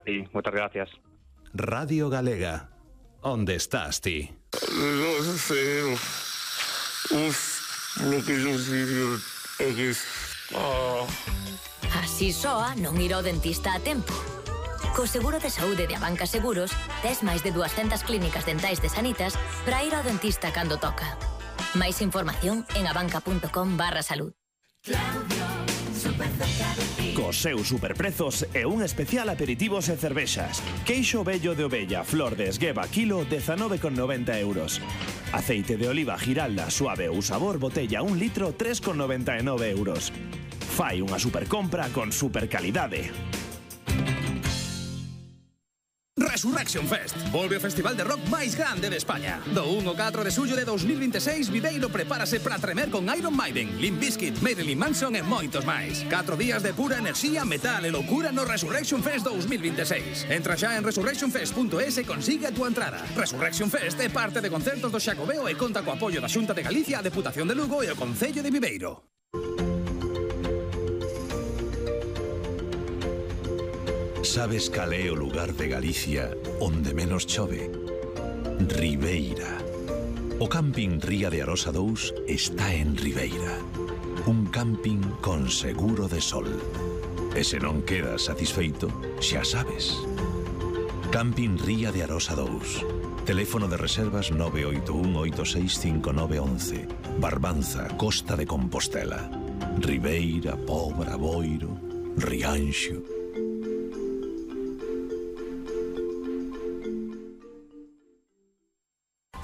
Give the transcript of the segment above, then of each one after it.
Sí, moitas gracias. Radio Galega. Onde estás ti? Non sei. Lo que eu digo é que... Así soa non ir ao dentista a tempo. Co seguro de saúde de Abanca Seguros, tes máis de 200 clínicas dentais de Sanitas para ir ao dentista cando toca. Máis información en abanca.com/salud. Cos seus superprezos e un especial aperitivos e cervexas. Queixo vello de ovella, flor de esgueva, kilo, 19,90 €. Aceite de oliva Giralda, suave ou sabor, botella 1 litro, 3,99 €. Fai unha supercompra con supercalidade. Resurrection Fest. Volve o festival de rock máis grande de España. Do 1 ao 4 de xullo de 2026, Viveiro prepárase para tremer con Iron Maiden, Limp Bizkit, Marilyn Manson e moitos máis. 4 días de pura enerxía, metal e loucura no Resurrection Fest 2026. Entra xa en resurrectionfest.es e consigue a túa entrada. Resurrection Fest é parte de concertos do Xacobeo e conta co apoio da Xunta de Galicia, a Deputación de Lugo e o Concello de Viveiro. Sabes cal é o lugar de Galicia onde menos chove? Ribeira. O camping Ría de Arosa 2 está en Ribeira. Un camping con seguro de sol. E se non quedas satisfeito, xa sabes. Camping Ría de Arosa 2. Teléfono de reservas 981865911. Barbanza, Costa de Compostela. Ribeira, Pobra, Boiro, Rianxo.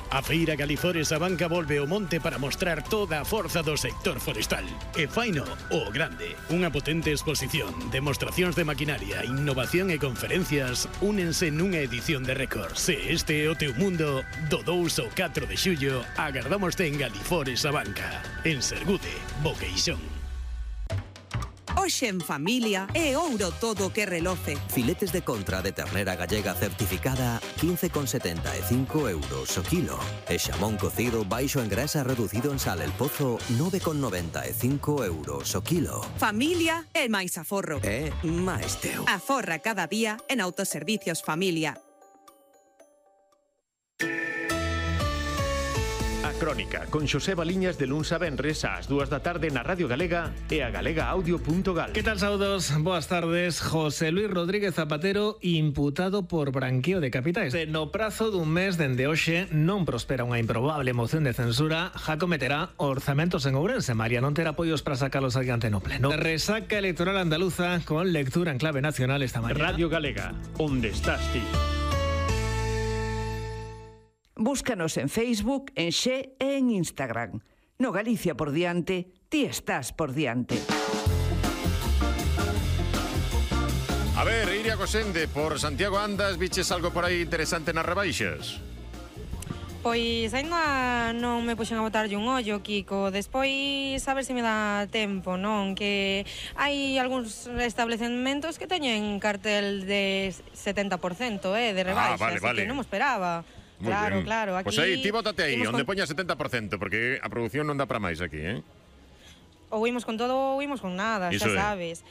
A Feira Galifores Abanca volve ao monte para mostrar toda a forza do sector forestal. E faino o grande. Unha potente exposición, demostracións de maquinaria, innovación e conferencias únense nunha edición de récord. Se este é o teu mundo, do 2 ao 4 de xullo, agardámoste en Galifores Abanca. En Sergude, Boqueixón. Hoxe en familia é ouro todo o que reloce. Filetes de contra de ternera gallega certificada 15,75 € o kilo. E xamón cocido baixo en grasa reducido en sal el pozo 9,95 € o kilo. Familia é máis aforro. É máis teu. Aforra cada día en Autoservicios Familia. Crónica, con Xosé Baliñas de luns a venres ás 2 da tarde na Radio Galega e a galegaaudio.gal. Que tal, saúdos? Boas tardes. José Luis Rodríguez Zapatero imputado por branqueo de capitais. No prazo dun mes dende hoxe non prospera unha improbable moción de censura, já cometerá orzamentos en Ourense. María non terá apoios para sacalos adiante no pleno. Resaca electoral andaluza con lectura en clave nacional esta mañana. Radio Galega, onde estás ti? Búscanos en Facebook, en Xe e en Instagram. No Galicia por diante, ti estás por diante. A ver, Iria Cosende, por Santiago andas, viches algo por aí interesante nas rebaixas? Pois ainda non me puxen a botarlle un ollo, Kiko. Despois a ver se me dá tempo, non? Que hai algúns establecementos que teñen cartel de 70%, de rebaixas, vale. que non me esperaba. Muy claro, bien. claro. Aquí Pois aí, ti bótate aí, onde poña 70%, porque a produción non dá para máis aquí, Ou imos con todo ou imos con nada, Iso xa sabes.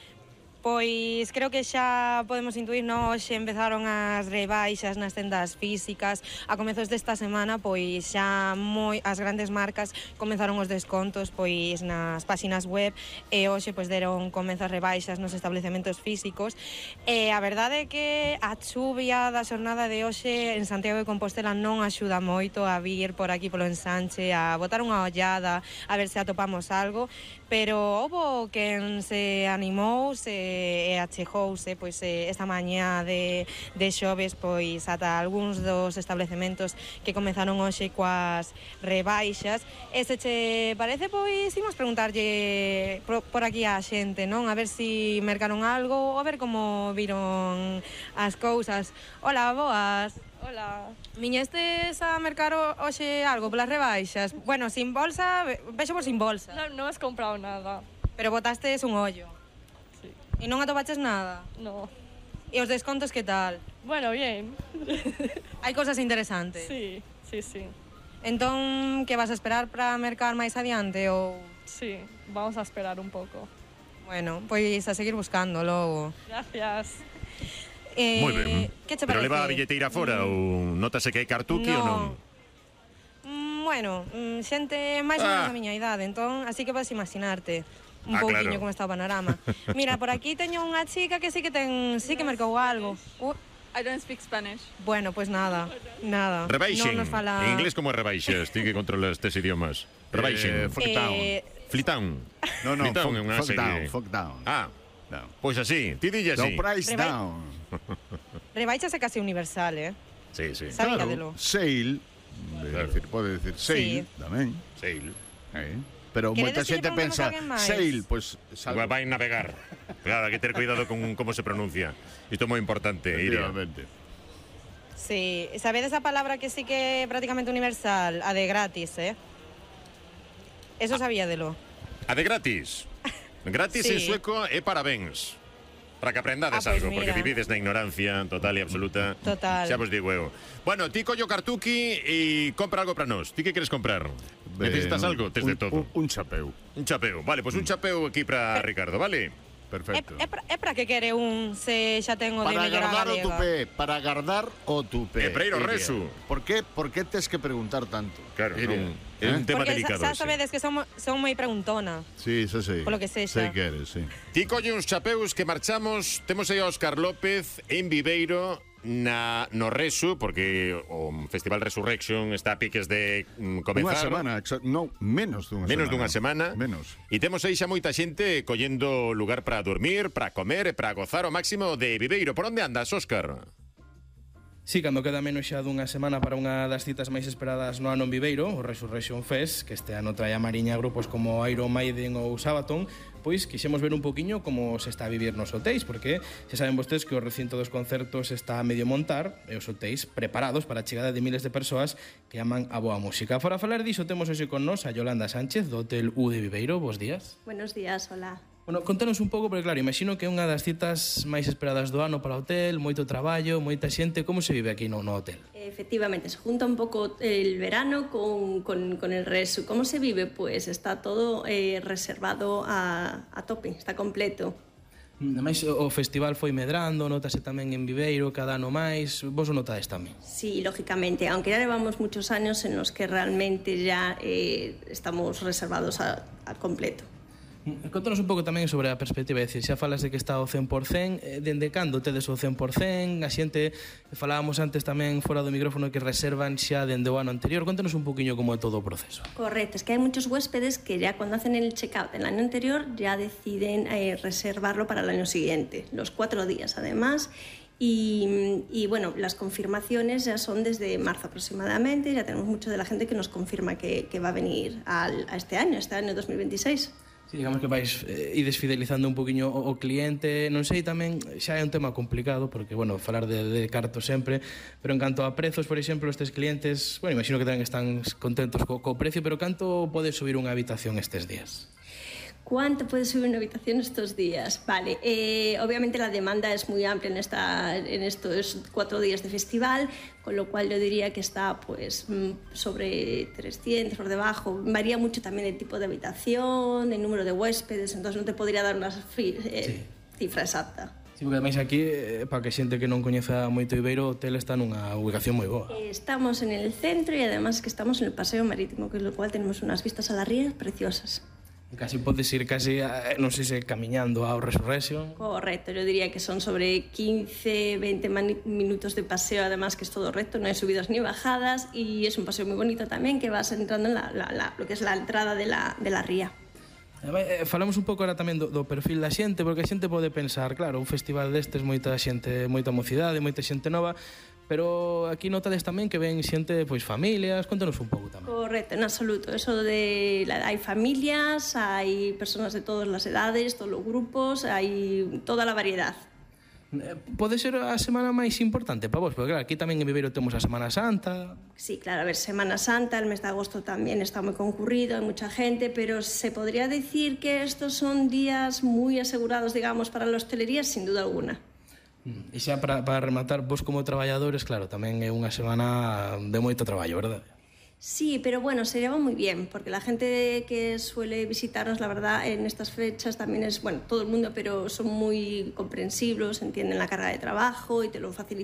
Pois creo que xa podemos intuir, non? Hoxe empezaron as rebaixas nas tendas físicas. A comezos desta semana, pois xa as grandes marcas comenzaron os descontos pois nas páxinas web e hoxe pois deron comezas rebaixas nos establecementos físicos. E a verdade é que a chuvia da xornada de hoxe en Santiago de Compostela non axuda moito a vir por aquí polo ensanche, a botar unha ollada, a ver se atopamos algo, pero houbo quen se animou, e achegouse pois esta mañá de xoves pois ata algúns dos establecementos que comezaron hoxe coas rebaixas. E se che parece, pois imos preguntarlle por aquí á xente, non? A ver si mercaron algo ou a ver como viron as cousas. Hola, boas. Hola. Viñestes a mercar hoxe algo polas rebaixas? Bueno, sin bolsa, vexo por sin bolsa. Non has comprado nada. Pero botastes un ollo. Sí. E non atopaches nada? No. E os descontos que tal? Bueno, bien. Hai cosas interesantes? Sí. Entón, que vas a esperar para mercar máis adiante ou...? Sí, vamos a esperar un pouco. Bueno, pois a seguir buscando logo. Gracias. Moi ben. Que che Pero parece? leva a billeteira fora ou notase que hai cartuqui ou non? Bueno, xente máis ou menos a miña idade, entón, así que podes imaginarte un pouquiño claro. como está o panorama. Mira, por aquí teño unha chica que sí que marcou algo. I don't speak Spanish. Bueno, pues nada. Rebaixen. Non nos fala... En inglés como é rebaixas? Ti que controlas estes idiomas. Rebaixen. Flitown. No, Flitown é unha serie. fuck down. Ah, pois así. Ti dille así. No price down. Rebaixas é casi universal, Sí. Sabíadelo. Sale, pode decir sale, tamén. Sale. Pero moita Queredes que lle xente preguntemos pensa a alguén máis? sale, pois Igual vai navegar. Claro, hai que ter cuidado con como se pronuncia. Isto é moi importante, Iria. Sí, sabedes a palabra que sí que é prácticamente universal? A de gratis, Eso sabíadelo. A de gratis. Gratis Sí. en sueco é parabéns. Para que aprendades Pois algo, porque mira. vivides na ignorancia total e absoluta. Total. Xa vos digo eu. Bueno, ti collo cartuqui e compra algo para nós. Ti que queres comprar? Necesitas algo? Tes de todo. Un chapeu. Un chapeu. Vale, pois un chapeu aquí para Ricardo, vale? Perfecto. É para que quere un se xa ten o de Para mellora agardar o galega? tupé, para agardar o tupé. E para ir ao Iria. resu. Por que tes que preguntar tanto? Claro, Iria? é un tema Porque delicado. xa ese. sabedes que son moi preguntona. Sí, eso sí. Polo que sexa. Sei que eres, sí. Ti colle uns chapeus que marchamos. Temos aí a Óscar López en Viveiro no Resu, porque o Festival Resurrection está a piques de comezar. Unha semana, menos dunha semana. Menos dunha semana. Menos. E temos aí xa moita xente collendo lugar para dormir, para comer e para gozar o máximo de Viveiro. Por onde andas, Óscar? Sí, cando queda menos xa dunha semana para unha das citas máis esperadas no ano en Viveiro, o Resurrection Fest, que este ano trae a Mariña grupos como Iron Maiden ou Sabaton, pois quixemos ver un poquiño como se está a vivir nos hotéis, porque xa saben vostedes que o recinto dos concertos está a medio montar e os hotéis preparados para a chegada de miles de persoas que aman a boa música. Fora falar diso, temos hoxe con nos a Yolanda Sánchez do Hotel U de Viveiro. Bos días. Buenos días, hola. Bueno, contanos un pouco, porque claro, imagino que é unha das citas máis esperadas do ano para o hotel, moito traballo, moita xente. Como se vive aquí no hotel? Efectivamente, se junta un poco el verano con el resto. ¿Cómo se vive? Pues está todo reservado a tope, está completo. Ademais, o festival foi medrando, notase tamén en Viveiro, cada ano máis. Vos o notades tamén? Sí, lógicamente, aunque ya llevamos muchos años en los que realmente ya estamos reservados a completo. Contanos un pouco tamén sobre a perspectiva, é dicir, xa falas de que está ao 100%, dende cando tedes o 100%, a xente, falábamos antes tamén fora do micrófono que reservan xa dende o ano anterior, contanos un poquinho como é todo o proceso. Correcto, es que hay muchos huéspedes que ya cuando hacen el check-out del año anterior ya deciden reservarlo para el año siguiente, los 4 días además. Y bueno, las confirmaciones ya son desde marzo aproximadamente, ya tenemos mucho de la gente que nos confirma que va a venir a este año 2026. Sí, digamos que vais ides fidelizando un poquinho o cliente. Non sei tamén, xa é un tema complicado porque, bueno, falar de cartos sempre, pero en canto a prezos, por exemplo, estes clientes, bueno, imagino que tamén están contentos co precio, pero canto pode subir unha habitación estes días? ¿Cuánto puede subir una habitación estos días? Vale, obviamente la demanda es muy amplia en estos 4 días de festival, con lo cual yo diría que está pues sobre 300 por debajo. Varía mucho también el tipo de habitación, el número de huéspedes, entonces no te podría dar una cifra exacta. Sí, porque ademais aquí, para que xente que non coñeza moito Viveiro, o hotel está nunha ubicación moi boa. Estamos en el centro y además que estamos en el paseo marítimo, con lo cual tenemos unas vistas a las rías preciosas. Casi podes ir non sei se camiñando ao Resurrection. Correcto, yo diría que son sobre 15-20 minutos de paseo, además que es todo recto, no hay subidas ni bajadas y es un paseo muy bonito también que vas entrando en lo que es la entrada de la ría. Falamos un pouco ahora tamén do perfil da xente, porque a xente pode pensar, claro, un festival destes, moita xente, moita mocidade, moita xente nova, pero aquí notades tamén que ven xente, pois familias, contanos un pouco tamén. Correcto, en absoluto, eso hay familias, hay personas de todas las edades, todos los grupos, hay toda la variedad. Pode ser a semana máis importante para vos, porque claro, aquí tamén en Viveiro temos a Semana Santa. Sí, claro, a ver, Semana Santa, el mes de agosto también está muy concurrido, hay mucha gente, pero se podría decir que estos son días muy asegurados, digamos, para la hostelería, sin duda alguna. E xa para rematar, vos como traballadores, claro, tamén é unha semana de moito traballo, verdade? Sí, pero bueno, se lleva muy bien, porque la gente que suele visitarnos, la verdad, en estas fechas también es, bueno, todo el mundo, pero son muy comprensivos, entienden la carga de trabajo y te lo facilitan